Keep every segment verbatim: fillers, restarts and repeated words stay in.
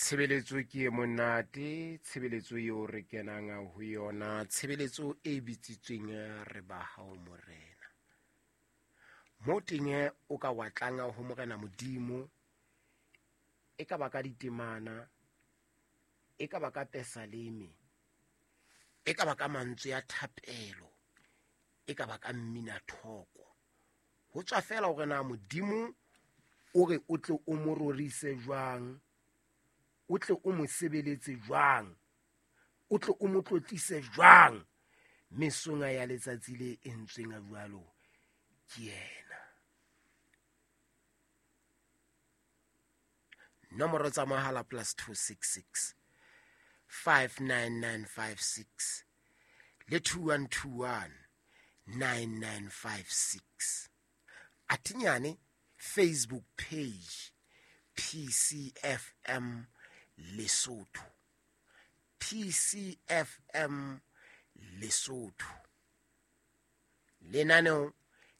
Tshebeletso ke e monate, tshebeletso eo re kenang ho yona, tshebeletso e bitsitsweng re ba hao Morena. Mo teng o ka wa tlang ho Morena Modimo, e ka ba ka ditemana, e ka ba ka pesaleme, e ka ba ka mantswe a thapelo, e ka ba ka mmina thoko. Ho tswa feela hore na Modimo o re o tle o mo rorise jwang, o tle o mo sebeletse jwang, o tle o mo tlotlise jwang mesong ya letsatsi le entsweng jwalo ke yena. Nomoro tsa mohala plus two six six five nine nine five six le two one two one nine nine five six. Atinyane Facebook page P C F M Lesotho, P C F M Lesotho. Lenaneo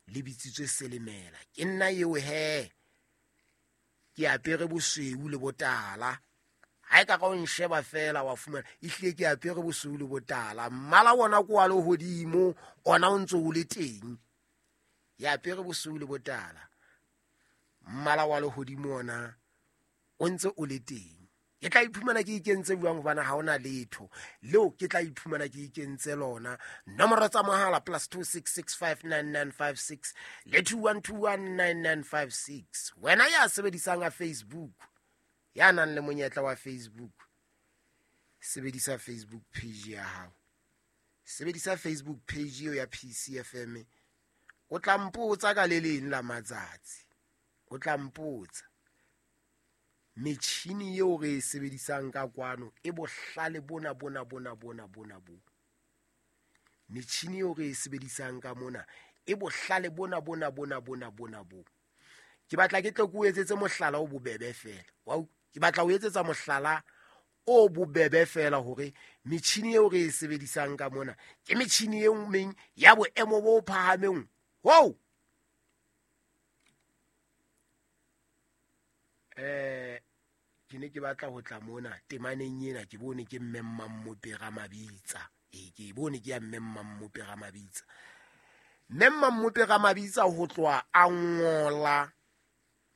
le bitsitswe Selemela. Ke nna eo he, ke apere bosweu le botala. Ha e ka ka o nsheba fela wa fumana ehlile ke apere bosweu le botala. Mmala wona ko wa lehodimo ona o ntso o le teng. Ke apere bosweu le botala, mmala wa lehodimo ona o ntse o le teng. Ke tla iphumana ke ikentse jwang hobane ha hona letho leo ke tla iphumana ke ikentse lona. Nomoro tsa mohala plus two six six five nine nine five six le two one two one nine nine five six. Wena ya sebedisang a Facebook, ya nang le monyetla wa Facebook, sebedisa Facebook page ya hao, sebedisa Facebook page eo ya P C F M. O tla mpotsa ka le leng la matsatsi, o tla mpotsa metjhini eo re e sebedisang ka kwano e bohlale bona bona bona bona bona bo. Metjhini eo re e sebedisang ka mona e bohlale bona bona bona bona bona bo. Ke batla ke tle ke o etsetse mohlala o bobebe fela. Wa ke batla o etsetsa mohlala o bobebe fela hore metjhini eo re e sebedisang ka mona ke metjhini e meng ya boemo bo phahameng. Wow! Eh, ke ne ke batla ho tla mona temaneng ena, ke bone ke mme Mmamope Ramabitsa. E ke bone ke ya mme Mmamope Ramabitsa. Mme Mmamope Ramabitsa ho tloha a ngola,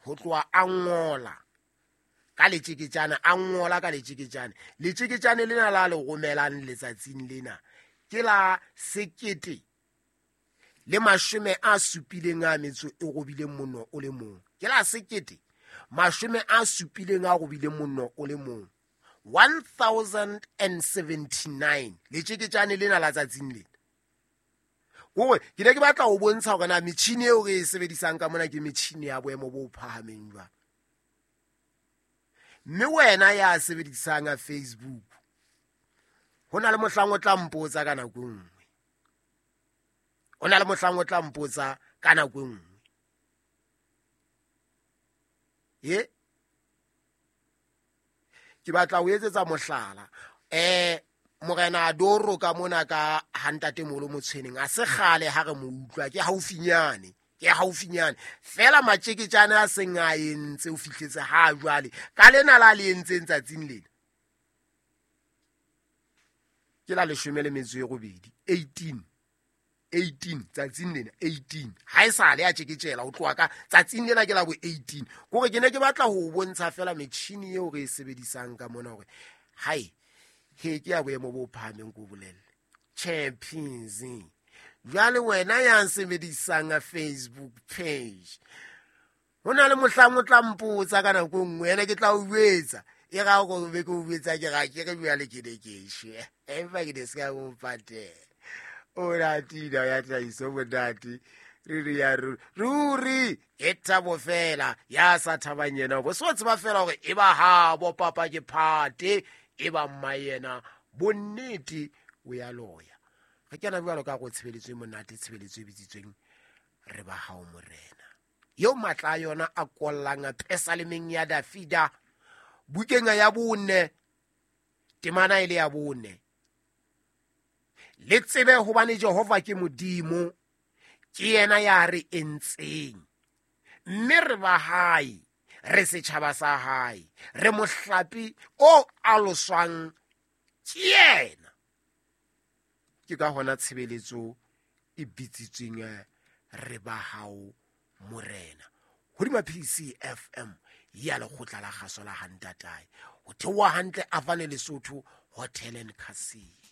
ho tloha a ngola ka letjeketjane, a ngola ka letjeketjane. Letjeketjane lena la le romelang letsatsing lena ke la sekete le mashome a supileng a metso e robileng monno o le mong. Ke la sekete mashome a supileng a robileng monno o le mong, one thousand and seventy-nine. Letjeketjane lena la tsatsing lena. Hore ke ne ke batla ho bontsha hore na metjhini eo re e sebedisang ka mona ke metjhini ya boemo bo phahameng jwang. Mme wena ya sebedisang a Facebook, ho na le mohlang o tla mpotsa ka nako e nngwe. Ho na le mohlang o tla mpotsa ka nako e nngwe. Ye? Ke batla ho etsetsa mohlala. Eh, Morena Adoro ka mona ka ha ntatemoholo Motshweneng, a se kgale ha re mo utlwa, ke haufinyane, ke haufinyane. Fela matjeketjane a seng a entse o fihletse ha jwale. Ka lena la le entseng tsatsing lena. Ke la leshome le metso e robedi, eighteen. eighteen tsatsing lena, eighteen. Ha e sale a tjeketjela ho tloha ka tsatsing lena ke la bo eighteen. Kore ke ne ke batla ho bontsha fela metjhini eo re e sebedisang ka mona hore hai, he ke ya boemo bo phahameng ko bolelle. Champions. Jwale wena ya sebedisang a Facebook page, ho na le mohlang o tla mpotsa ka nako e nngwe, ene ke tla o jwetsa. E ra hore be ke o jwetsa ke ra ke re jwale ke ne ke shwe. Empa ke ne se ka mo patela. O ratile ya tlhahiso monate. Ruri ya ruri. Ruri ke thabo fela ya sa thabang yena. Bo so tseba fela hore e ba ha bo papa ke phate, e ba mma yena bonnete o ya loya. Re kena jwalo ka go tshebeletso e monate, tshebeletso e bitsitsweng re ba hao Morena. Eo matla a yona a kollang a pesalemeng ya Dafida, bukeng ya bone, temana e le ya bone. Le tsebe hobane Jehova ke Modimo, ke yena ya re entseng, mme re ba hae, Re setjhaba sa hae, re mohlape o aloswang ke yena. Ke ka hona tshebeletso e bitsitsweng Re ba hao Morena. Hodima P C F M ya lekgotla la kgaso la Hantatae. Ho theoha hantle Avane Lesotho Hotel and Casino.